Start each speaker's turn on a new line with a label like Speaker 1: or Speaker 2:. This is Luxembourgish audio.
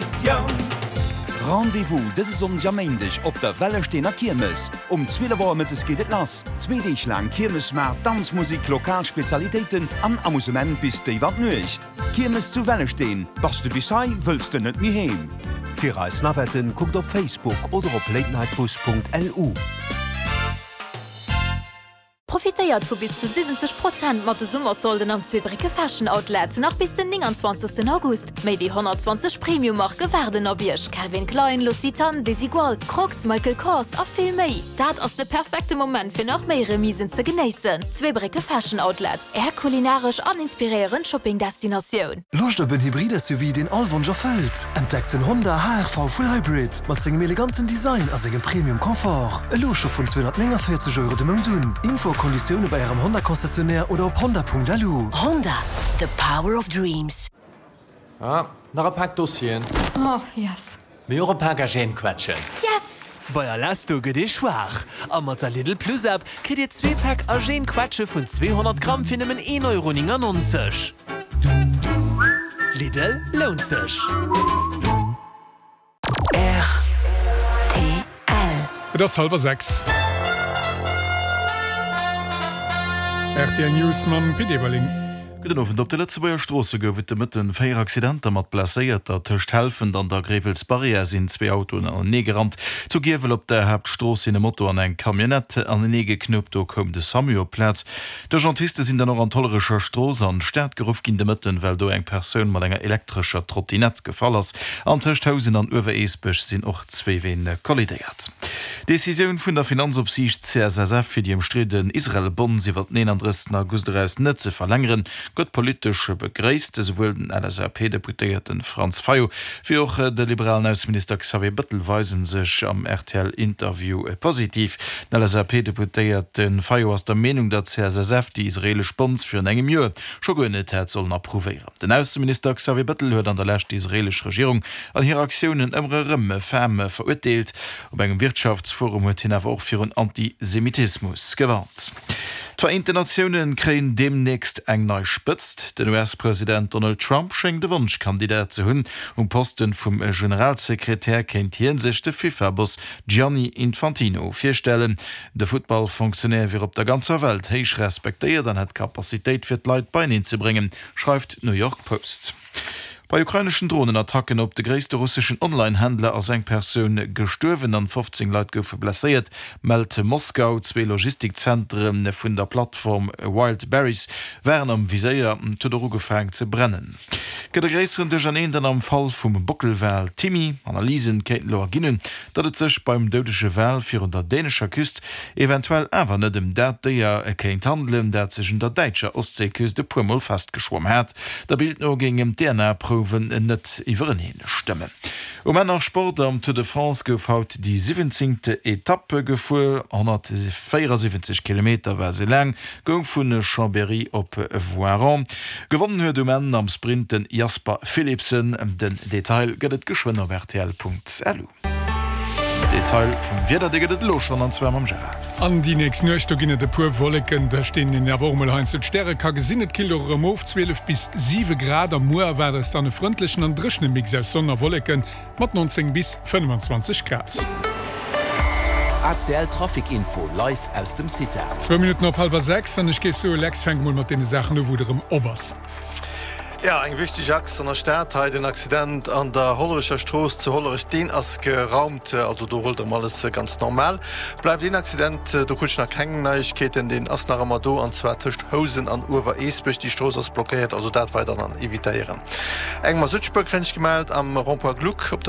Speaker 1: Traditioun.
Speaker 2: Rendez-vous dëse Sonndeg a Méindeg op der Wellesteener Kiermes. Um 12 Auer mëttes geet et lass. Zwee Deeg laang Kiermesmaart, Danzmusik, lokal Spezialitéiten an Amusement bis déif an d'Nuecht. Kiermes zu Wellesteen, Bass de bis hei, wëlls de net méi heem.
Speaker 3: Fir eis Navetten kuckt op Facebook oder op latenightbus.lu.
Speaker 4: Profitéiert vu bis zu 70 Prozent mat de Summersolden am Zweebrécke Fashion Outlet nach bis den 29 August. Méi wéi 120 Premium-Marke waarden op Iech, Calvin Klein, L'Occitane, Desigual, Crocs, Michael Kors a vill méi. Dat ass de perfekte Moment fir nach méi Remisen ze genéissen. Zweebrécke Fashion Outlet, Är kulinaresch an inspiréierend Shopping-Destinatioun.
Speaker 5: Loscht op en Hybrid-SUV, deen all Wonsch erfëllt? Entdeckt den Honda HR-V Full Hybrid mat sengem eleganten Design a sengem Premium Confort. Elo scho vun 249 Euro de Mount un. Info a Konditioune bei Ärem Honda-Concessionnaire oder op honda.lu.
Speaker 6: Honda, the power of dreams.
Speaker 7: Ah, nach e Pak Dossieren.
Speaker 8: Oh, yes.
Speaker 7: Mee och e Pak Agènequetschen.
Speaker 8: Yes!
Speaker 9: Bei Alesto gëtt ee schwaach a mat der Lidl Plus App kritt Dir zwee Päck Agènequetsche vun 200 Gramm fir nëmmen 1,99 Euro. Lidl, lount sech!
Speaker 6: Rtl.
Speaker 10: Et ass hallwer 6. Rtl News mam Pit Everling.
Speaker 11: Gudden Owend. Op de Lëtzebuerger Stroosse gouf et de Mëtten 4 Accidenter mat Blesséierter. Tëscht Helfent an der Gréiwelsbarrière sinn zwee Autoen anenee gerannt. Zu Giewel op der Haaptstrooss sinn e Moto an eng Camionnette anenee geknuppt. Do koum de Samu op d'Plaz. D'Urgentiste sinn dann och an d'Hollerecher Strooss an d'Stad geruff ginn de Mëtten, well do eng Persoun mat enger elektrescher Trottinett gefall ass. An tëscht Housen an Uewereesbech sinn och zwee Ween kollidéiert. D'Decisioun vun der Finanzopsiicht CSSF, fir déi ëmstridden Israel-Bonds iwwer den 31 August eraus net ze verlängeren, gëtt politesch begréisst. Esouwuel den LSAP-Deputéierte Franz Fayot wéi och de liberalen Ausseminister Xavier Bëttel weise sech am RTL-Interview positiv. Den LSAP-Deputéierte Fayot ass der Meenung, datt d'CSSF déi israeelesch Bonds virun engem Joer scho guer net hätt sollen approuvéieren. Den Ausseminister Xavier Bëttel huet an der Lescht déi israeelesch Regierung an hir Aktiounen ëmmer erëm ferm verurteelt. Op engem Wirtschaftsforum huet hien awer och virun Antisemitismus gewarnt. D'Vereenten Natioune kréien deemnächst eng nei Spëtzt. Den US-President Donald Trump schéngt e Wonschkandidat ze hunn. Um Posten vum Generalsekretär kéint hie sech de FIFA-Boss Gianni Infantino virstellen. De Futtball-Fonctionnaire wier op der ganzer Welt héich respektéiert an hätt d'Capacitéit fir d'Leit beieneen ze bréngen, schreift d'New York Post. Bei ukraineschen Dronenattacken op de gréisste russeschen Online-Händler ass eng Persoun gestuerwen an 15 Leit goufe blesséiert, mellt Moskau. Zwee Logistikzentere vun der Plattform Wildberries waren am Viséier. Et huet och ugefaang ze brennen. Et gëtt e gréisseren Duercherneen dann am Fall vum Bockelwal Timmy. Analysen kéinten elo erginn hunn, datt et sech beim doudege Wal virun der dänescher Küst eventuell awer net ëm dat Déier kéint handelen, dat sech un der däitscher Ostseeküst e puer Mol festgeschwomm hat. Der Bild no géingen d'DNA-Prouwen net iwwereneen stëmmen. Um Enn nach Sport, Am Tour de France gouf haut déi siwwenzéngte Etapp gefuer. 174 Kilometer war se laang, goung vu Chambéry op Voiron. Gewonnen huet um Enn am Sprint den Jasper Philipsen. Den Detail gëtt et geschwënn op rtl.lu. Detail vum Wieder, dee gëtt et elo schonn, an zwar mam Gérard.
Speaker 10: An déi nächst Nuecht, do ginn et e puer Wolleken, tëscht deenen een awer och mol heiansdo d'Stäre ka gesinn. Et killt och erëm of, 12 bis 7 Grad, a muer erwaart eis dann e frëndlechen an dréchene Mix aus Sonn a Wolleken mat 19 bis 25 Grad.
Speaker 3: ACL Trafic Info live aus dem CITA.
Speaker 10: Zwou Minutten op hallwer 6, an ech géif soe Lex, fänk mol mat deene Saachen u wou et erëm op ass.
Speaker 12: Jo, eng wichteg Achs an der Stad hei, den Accident an der Hollerecher Strooss zu Hollerech, deen ass geraumt, also do rullt erëm alles ganz normal. Bleift een Accident, do krut ech nach keng Neiegkeeten, deen ass nach ëmmer do, an zwar tëscht Housen an Uewereesbech. Déi Strooss ass blockéiert, also dat weider dann evitéieren. Eng Masuttspuer kréien ech gemellt am Rond-point Gluck op der.